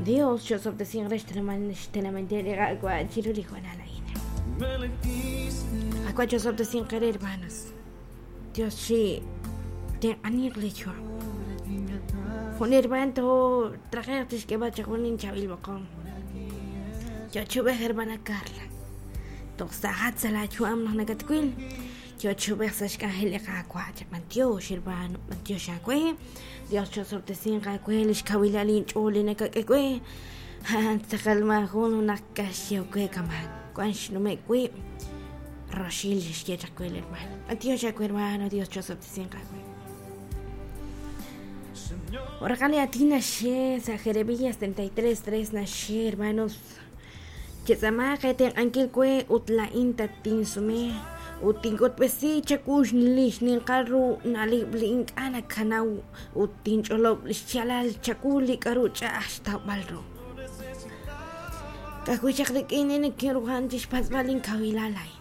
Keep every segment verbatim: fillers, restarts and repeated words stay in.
Dios chosob'tesinq re xtenamit li Qaawa' chiru li hoonal a'in. Qaawa' chosob'tesinq re hermanos. Dios chi tenq'aniq li yu'am. Jun hermano trajeq tixk'eb'al chaq jun inchaab'il b'oqom. Yo chub'ej hermana Carla. Toj sa'at sa' laayu'am naq nakatwil. Yo chub'ej sa' xk'anjel li Qaawa'. B'antiox hermano, b'antiox aawe. Dios chosob'tesinq aawe li xkawilal inch'ool li nakak'e we. Tz'aqal maajun naq kaxyew we kaman. Wan xnume' wib' roxil xye chaq we hermano. B'antiox aawe hermano, Dios chosob'tesinq aawe. Oraqali atina xe sa Jeremías treinta y tres tres naxe hermanos. Chetz'amaq etenq'ankil we ut la'in tatinsume ut tink'utb'esi chakux lix ninqal ru na'leb' li ink'a' nakanaw ut tinch'olob' xyaalal chaku li k'aru ch'a'aj xtawb'al ru. Kajwi' chaq rik'in nikinruhan chixpatz'b'al inkawilal a'in.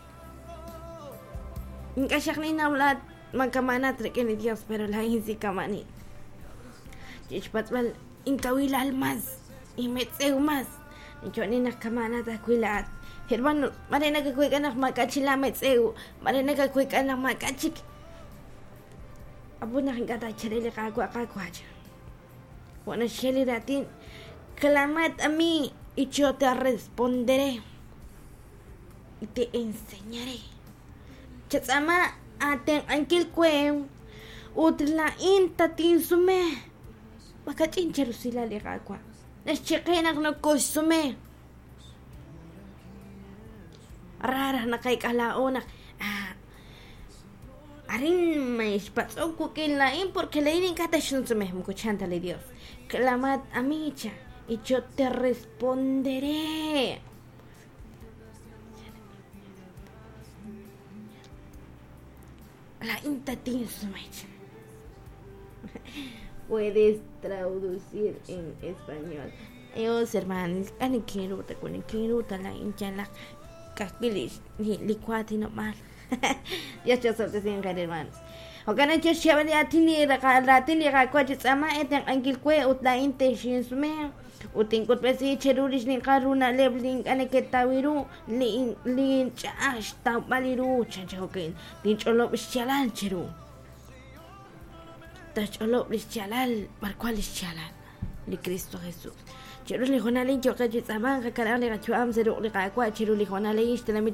Ink'a' xaq ninnaw laat makamanat rik'in li Dios, pero la'in si kamanin. Chixpatz'b'al inkawilal mas, inmetz'ew mas. Choni naq kamanat ajwi' laat. Hermano, mare nakakuik'a naq mak'achila metz'ew, mare nakakuik'a naq mak'achik. Apu naq ink'a' tacharel li Qaawa' Qaawa'. Juan xye li raatin, clamad a mí y yo te responderé y te enseñaré. Chatz'ama atenq'ankil we ut la'in tatinsume. Makach'in cherusila li Qaawa'. Naxchiqe naq nokoxsume. Rara naqayk'a laa'o naq ah, arin mexpatz'ok wik'in la'in porque la'in ink'a' taxinsume moko chan ta li Dios. Clamad a mí cha y yo te responderé. La'in tatinsume cha. Puedes traducir en español. Dios, hermanos, ani quiero te con quiero ta la hincha la caquilis ni licuati no mal. Dios te sin hermanos. Okana yo xabali atini ratini qakwa chitsama eten ankilkwe ut la inte shinsume utin kutbesi cherulish ni qaruna leblin ane ketawiru li li chash tawbaliru chanchajokin tinch'olob xchalal cheru. Tach'olob lix chalal barcual lix chalal li Cristo Jesús. Cheru li jonalin yoqe chitsaman qakaraq li qachu'am seruq li qakwa cheru li jonalin xtenamit